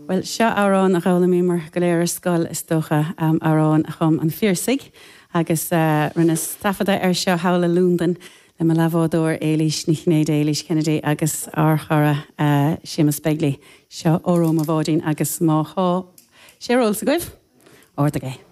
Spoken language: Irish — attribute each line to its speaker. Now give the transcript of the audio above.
Speaker 1: Bhuel, seo amhrán a d'fhoghlaimíomar go léir ar scoil, is dócha, amhrán a chum an Phiarsaigh agus rinneas taifeadadh air seo thall i Londain le mo leathbhádóir Éilís Ní Chinnéide, Éilís Kennedy, agus ár chara Séamus Begley. Seo Óró Mo Bháidín agus má thá sé ar eolas agaibh, ardaigh é.